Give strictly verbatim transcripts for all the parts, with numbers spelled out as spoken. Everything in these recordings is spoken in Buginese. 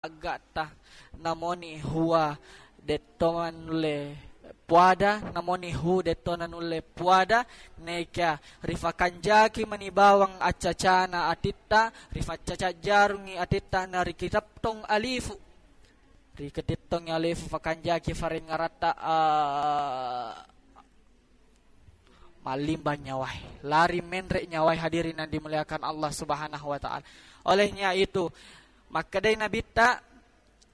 Aggatta, namoni hua detto manulle puada, namoni hu detto nanulle puada, neka rifakanjaki mani bawang accacana atitta, rifaccaca jarungi atitta, na rikitettong alifu. Rikitettong alifu fakanjaki farengngaratta, a, mallimbang nyawae, lari menre nyawae, hadirin yang dimuliakan Allah Subhanahu wa Ta'ala. Olehnya itu, makkedai Nabitta,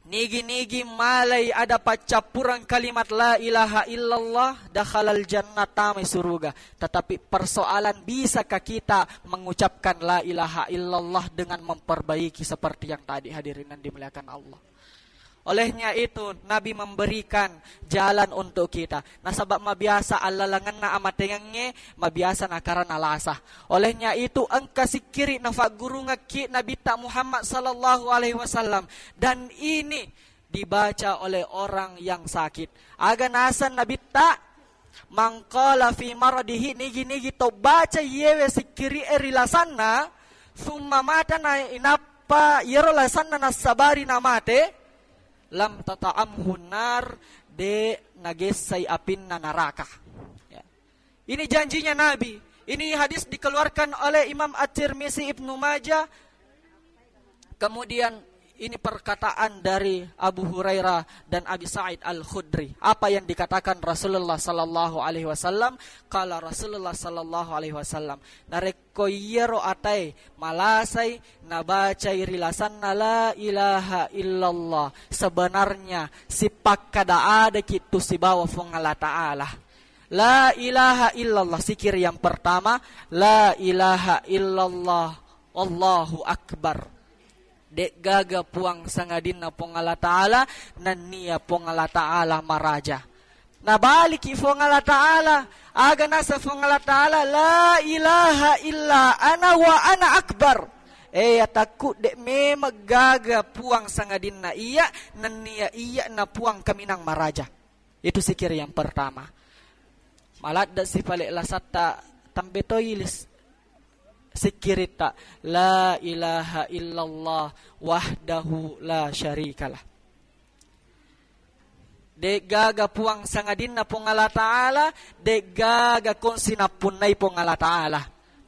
nigi-nigi malai ada paccappureng kalimat la ilaha illallah, dakhalal jannah, tamai suruga. Tetapi persoalan, bisakah kita mengucapkan la ilaha illallah dengan memperbaiki seperti yang tadi, hadirin yang dimuliakan Allah? Olehnya itu, Nabi memberikan jalan untuk kita. Nasaba mabiasa allalengenna amatengengnge, mabiasa nakara nalasa. Olehnya itu, engka sikkiri nafaggurungekki Nabitta Muhammad sallallahu alaihi wasallam. Dan ini dibaca oleh orang yang sakit. Aga naseng Nabitta, "Man qala fi maradihi," nigi-nigi to baca iyewe sikkiri'e ri lasanna, summa mata, na inappa iyaro lasanna nassabari namate, lam tata'amhu nar, de nagessai apinna naraka. Ya. Ini janjinya Nabi. Ini hadis dikeluarkan oleh Imam At-Tirmizi, Ibnu Majah. Kemudian ini perkataan dari Abu Hurairah dan Abi Sa'id Al-Khudri. Apa yang dikatakan Rasulullah sallallahu alaihi wasallam? Qala Rasulullah sallallahu alaihi wasallam, narekko iyaro atae malasai nabacai ri lasanna la ilaha illallah, sebenarnya sipakkada adaki tu sibawa Puang Allah Ta'ala. La ilaha illallah, sikir yang pertama, la ilaha illallah, Allahu Akbar. De'gaga puang sangadinna Puang Allah Ta'ala, nennia Puang Allah Ta'ala maraja. Nabaliki Puang Allah Ta'ala, aga naseng Puang Allah Ta'ala, "La ilaha illa ana wa ana akbar." Eh, atakku, de' memeng gaga puang sangadinna iya, nennia iya na puang kaminang maraja. Itu sikir yang pertama. Maladde' si pale' lasatta tambe toilis sikkiritta, la ilaha illallah wahdahu la syarikalah. De'gaga puang sangadinna Puang Allah Ta'ala, de'gaga kongsi nappunnai Puang Allah Ta'ala.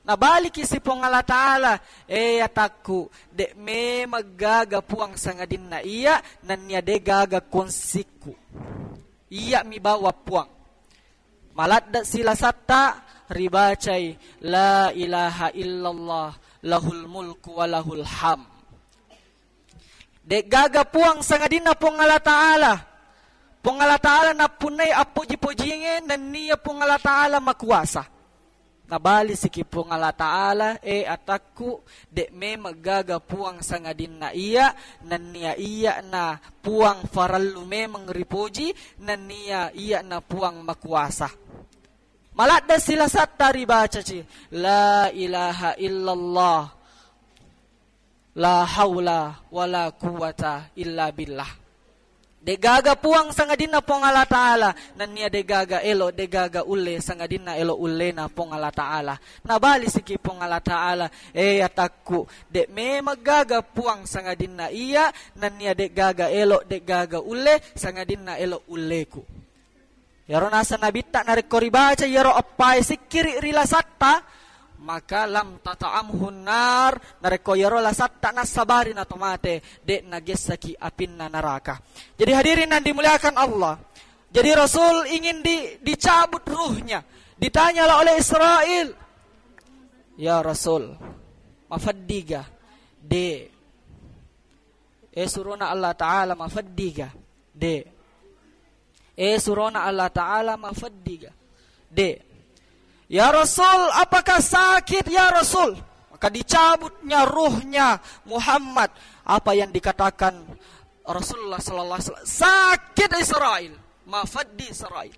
Nabaliki si Puang Allah Ta'ala, eh, atakku, de' memeng gaga puang sangadinna iya, nennia de'gaga kongsikku. Iya mi bawang puang. Maladde' silasatta ribacai, la ilaha illallah, lahul mulku wa lahul ham. De'gaga puang sangadinna Puang Allah Ta'ala. Puang Allah Ta'ala nappunnai appoji-pojinge, nennia Puang Allah Ta'ala makuasa. Nabalisiki Puang Allah Ta'ala, eh, atakku, de' memeng gaga puang sangadinna iya, nennia iya na puang farellu memeng ripoji, nennia iya na puang makuasa. Maladde' silasatta ribacaci, la ilaha illallah, la haula wala quwwata illa billah. De'gaga puang sangadinna Puang Allah Ta'ala, nennia de'gaga elo, de'gaga ulle sangadinna elo ullena Puang Allah Ta'ala. Nabalisiki Puang Allah Ta'ala, eh, atakku, de' memeng gaga puang sangadinna iya, nennia de'gaga elo, de'gaga ulle sangadinna elo ulleku. Iyaro naseng Nabitta, narekko ribaca iyaro eppae sikkiri ri lasatta, maka lam tata'amhun nar, narekko iyaro lasatta nassabari na to mate, de' nagessaki apinna naraka. Jadi hadirin yang dimuliakan Allah, jadi Rasul ingin di-, dicabut ruhnya. Ditanyalah oleh Israel, "Ya Rasul, mafeddiga?" De'. Eh, surona Allah Ta'ala, mafeddiga? De'. Eh, surona Allah Ta'ala, mafeddiga? De'. Ya Rasul, apakah sakit, ya Rasul? Maka dicabutnya ruhnya Muhammad. Apa yang dikatakan Rasulullah sallallahu alaihi wasallam? Sakit Israel, mafeddi Israel.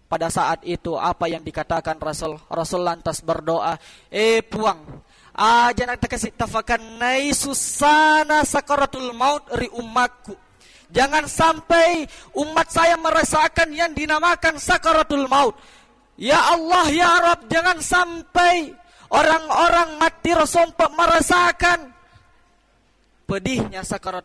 Pada saat itu, apa yang dikatakan Rasul? Rasul lantas berdoa, "Eh Puang, aja' na takasi' tafakannai sussana sakaratul maut ri ummakku. Jangan sampai umat saya merasakan yang dinamakan sakaratul maut. Ya Allah, ya Rabb, jangan sampai orang-orang mati ro sompa' merasakan pedihnya sakaratul